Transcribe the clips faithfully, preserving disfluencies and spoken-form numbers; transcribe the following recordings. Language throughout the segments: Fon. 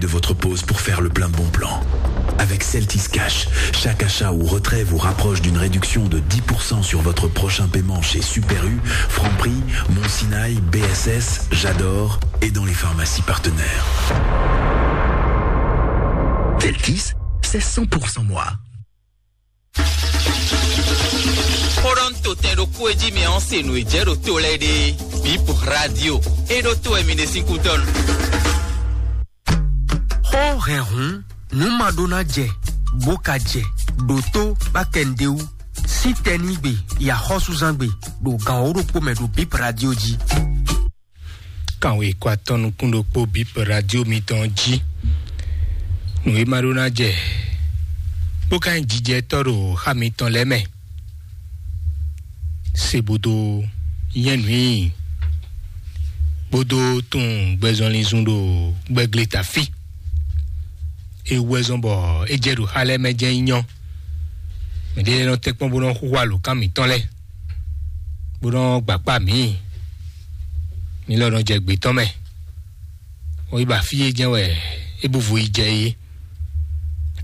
de votre pause pour faire le plein de bons plans. Avec Celtis Cash, chaque achat ou retrait vous rapproche d'une réduction de dix pour cent sur votre prochain paiement chez Super U, Franprix, Mon Sinaï, B S S, J'adore et dans les pharmacies partenaires. Celtis, c'est cent pour cent moi. Xó ɖɔ nú totɛn ɖokpó e jí mi ɔ́ se nǔ e jɛ ɖo to lɛ́ɛ ɖe. Bip Radio. E ɖó to wɛ mi ɖe sín kútɔ́ nu. Xó hɛn hǔn nǔ ma ɖó ná jɛ bó ka jɛ ɖo tó bá kɛ nǔɖé wú. Sítɛnígbe yaxɔ́súzángbe ɖo gǎn wǒ ɖokpó mɛ ɖo Bip Radio jí. Kanwe kɔ atɔn nukún ɖokpó Bip Radio mitɔn jí. Nǔ e ma ɖó ná jɛ bó ka nyí jijɛtɔ́ ɖo xá mitɔn lɛ́ɛ mɛ. Se bó dó nyɛ́ nǔ i bó dó tunwun gbɛzɔnlin zun ɖo gbɛgle tafí. E wú wɛ zɔ́n bɔ é jɛ ɖo xá lɛ́ɛ mɛ jɛ́n nyí nyɔ́. Mɛɖé lɛ́ɛ nɔ tɛ́nkpɔ́n bó nɔ xúxú alǒkan mǐtɔn lɛ́ɛ, bó nɔ gbakpá mǐ. Mi lɔ nɔ jɛ gbětɔ́ mɛ. Wọ́n yi ba fí e jɛ́n wɛ é bú vo yi jɛ é.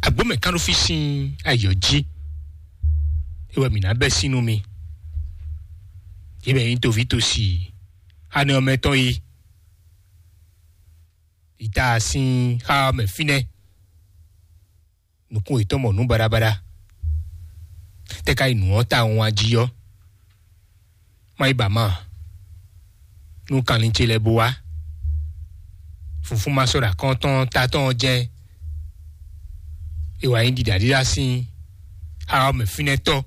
Agbǒ mɛ kán ɖó fí sín ayǐ ɔ́ jí. É wɛ mǐ ná bɛ́ sín nú mi. Yě mɛ nyí toví tosi anɛ ɔ́ mɛ tɔn yi. Yi ta sín xá ɔ́ mɛ fínɛ́. Nukún yětɔn mɔ nǔ baɖabaɖa. Tɛ́ ka yi nǔ ɔ́ ta wɔn jí ɔ́? Má yi ba ma. Nú kanlin ce lɛ́ɛ bó wá. Funfún ma sɔ́ ɖo akɔ́ntɔn tatɔ́n ɔ́ jɛ́n. È wǎ nyí ɖiɖaɖíɖá sín xá ɔ́ mɛ fínɛ́ tɔ́.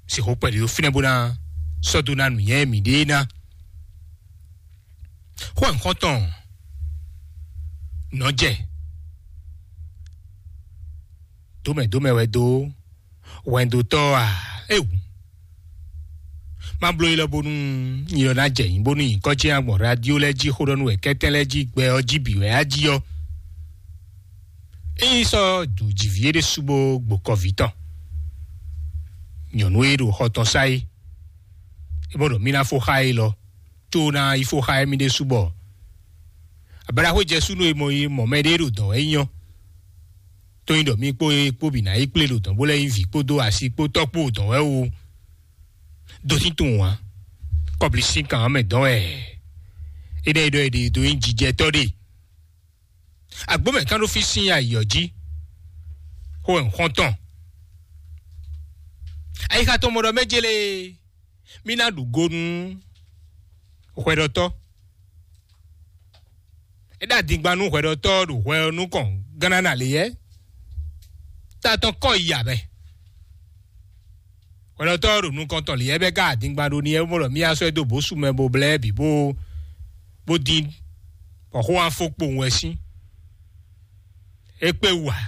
Sixú kpɛɖé ɖó fínɛ́ bó ná sɔ́ dó ná nǔnywɛ́ mǐɖée ná. Xó nǔxɔ́ntɔn nɔ jɛ dǒmɛdǒmɛ wɛ dó wɛndotɔ́ a? Ewu. Má bló yi lɔ bónú nyilɔ ná jɛ nyǐ bónú nyǐkɔ ce ná gbɔn radio lɛ́ɛ jí xó ɖɔ nú wɛ kɛ́tɛ́n lɛ́ɛ jí gbɛ ɔ́ jí bǐ wɛ á jí ɔ́. Ényí sɔ́ dǒ jǐví é ɖésú bó gbokɔví tɔn. Nyɔ̌nu e ɖo xɔ tɔn sá é, é mɔ ɖɔ mí ná fó xá é lɔ, có ná yi fó xá émí ɖésú bɔ ablaxwé jɛsú nú e mɔ yi mɔ mɛ ɖé ɖo dɔ̌n wɛ nyí ɔ́. Tó nyí ɖɔ mí kpó é kpó bǐ ná yi kplé ɖo dɔ̌n bó lɛ́ nyí vǐ kpódó así kpó tɔ́ kpó ɖɔ̌n wɛ o. Dó tín tunwun ǎ. Kɔbli sín kan ɔ́ mɛ dɔn wɛ. É ɖɔ é ɖɔ é ɖe dó nyí jijɛtɔ́ ɖe. Agbó mɛ kán ɖó fí sín ayǐ ɔ́ jí. Xó wɛ un xɔ́n tɔn. Ayixa tɔn mɔ ɖɔ mɛ jélé. Mí ná ɖu go nú hwɛɖɔtɔ́. É ɖo adingban nú hwɛɖɔtɔ́ ɖo hwɛ ɔ́ nukɔn gánná lě yɛ́. Ta tɔn kɔ yi abɛ. Hwɛɖɔtɔ́ ɖo nukɔn tɔn lě yɛ́ bɛ ká adingban ɖó ní yɛ́ bó ɖɔ mí á sɔ́ ɛ dó bǒsú mɛ bó blɛ́ bǐ bó bó dín bɔ xó wá fó kpowun wɛ sín. É kpé wú ǎ.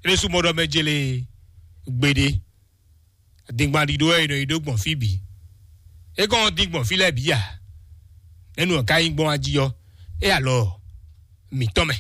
É ɖésú mɔ ɖɔ mɛ jélé gbeɖé. Dingban ɖiɖó wɛ è nɔ yi ɖó gbɔn fí bǐ. É kɔn dín gbɔn fí lɛ́ɛ bǐ a? Nɛ̌nu ɔ́ ka nyí gbɔn wá jí ɔ́? É alɔ mǐtɔn mɛ.